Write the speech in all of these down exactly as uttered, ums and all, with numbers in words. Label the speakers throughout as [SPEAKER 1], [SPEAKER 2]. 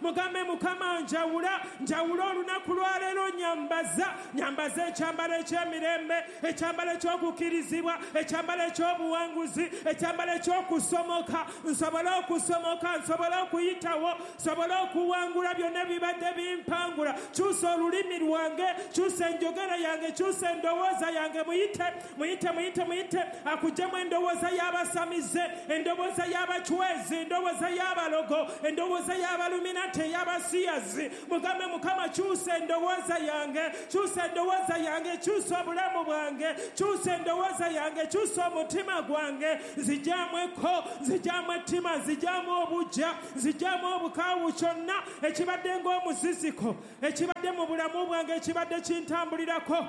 [SPEAKER 1] Mugambe Mukama njawula, njawula olunaku lwaleero, nyambaza, nyambaza ekyambalo eky'emirembe, ekyambalo eky'okukkirizibwa, ekyambalo eky'obuwanguzi, ekyambalo eky'okusomoka, nsobole okusomoka, nsobole okuyitawo, nsobole okuwangula byonna ebibadde bimpangula. Kyusa olulimi lwange, kyusa enjogera yange, kyusa endowooza yange. Muyite, muyite, muyite, muyite akuggyemu endowooza y'abasamize, endowooza y'abacwezi, endowooza y'abalogo, endowooza y'abaluminati, ey'abasiyazi. Mugambe Mukama kyusa endowooza yange, kyusa endowooza yange, kyusa obulamu bwange, kyusa endowooza yange, kyusa omutima gwange. Nzigyamu ekko, nzigyamu ettima, nzigyamu obujja, nzigyamu obukaawu, kyonna ekibadde ng'omuziziko, ekibadde mu bulamu bwange, ekibadde kintambulirako.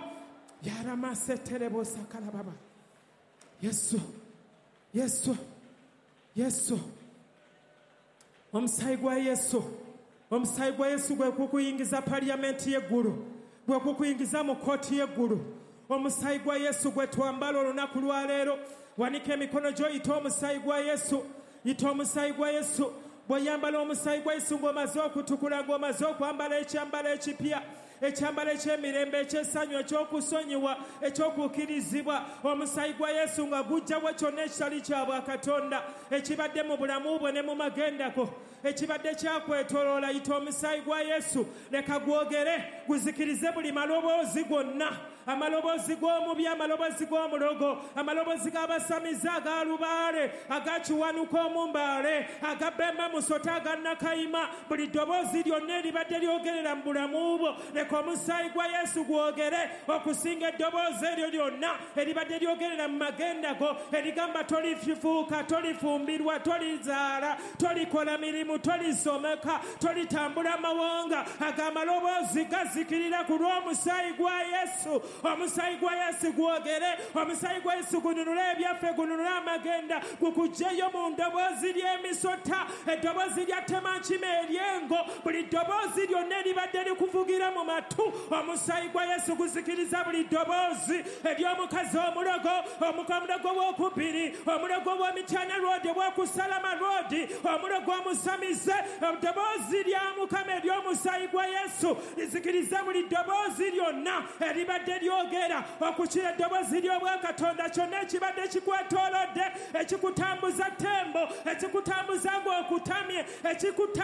[SPEAKER 1] Yaramaseterebosakalababa. Yesu, Yesu, Yesu. Omusaayi gwa Yesu, omusaayi gwa Yesu gwe kukuyingiza paliyamenti y'eggulu, gwe kukuyingiza mu kkooti y'eggulu. Omusaayi gwa Yesu gwe twambala olunaku lwaleero. Wanika emikono gyo, yita omusaayi gwa Yesu, yita omusaayi gwa Yesu. Bw'oyambala omusaayi gwa Yesu ng'omaze okutukula, ng'omaze okwambala ekyambalo ekipya, ekyambalo eky'emirembe, eky'essanyu, eky'okusonyiwa, eky'okukkirizibwa. Omusaayi gwa Yesu nga gujjawo kyonna ekitali kya bwakatonda ekibadde mu bulamu bwo ne mu magenda go, ekibadde kyakwetoloola. Yita omusaayi gwa Yesu, leka gwogere, guzikirize buli maloboozi gonna, amaloboozi g'omubi, amaloboozi g'omulogo, amaloboozi g'abasamize, aga lubaale, aga kiwanuka omumbaale, aga bemba musota, aga nakayima. Buli ddoboozi lyonna eribadde lyogerera mu bulamu bwo, leka omusaayi gwa Yesu gwogere okusinga eddoboozi eryo lyonna eribadde lyogerera mu magenda go, erigamba tolifuuka, tolifumbirwa, tolizaala, tolikola mirimu, tolisomeka, tolitambula mawanga. Ago amaloboozi gazikirira ku lw'omusaayi gwa Yesu. Omusaayi gwa Yesu gwogere, omusaayi gwa Yesu gununule ebyaffe, gununule amagenda, gukuggyeyo mu ddoboozi ly'emisota, eddoboozi lya temankima ery'engo, buli ddoboozi lyonna eribadde likuvugira mu matu. Omusaayi gwa Yesu guzikiriza buli ddoboozi ery'omukazi omulogo, omulogo w'okubiri, omulogo w'Emityana Road, ow'okusalama Road, omulogo omusamize. Eddoboozi lya Mukama ery'omusaayi gwa Yesu lizikiriza buli ddoboozi lyonna eribadde lyogera okukira eddoboozi ly'obwakatonda. Kyonna ekibadde kikwetoolodde, ekikutambuza tembo, ekikutambuza ng'okutamye, ekikuta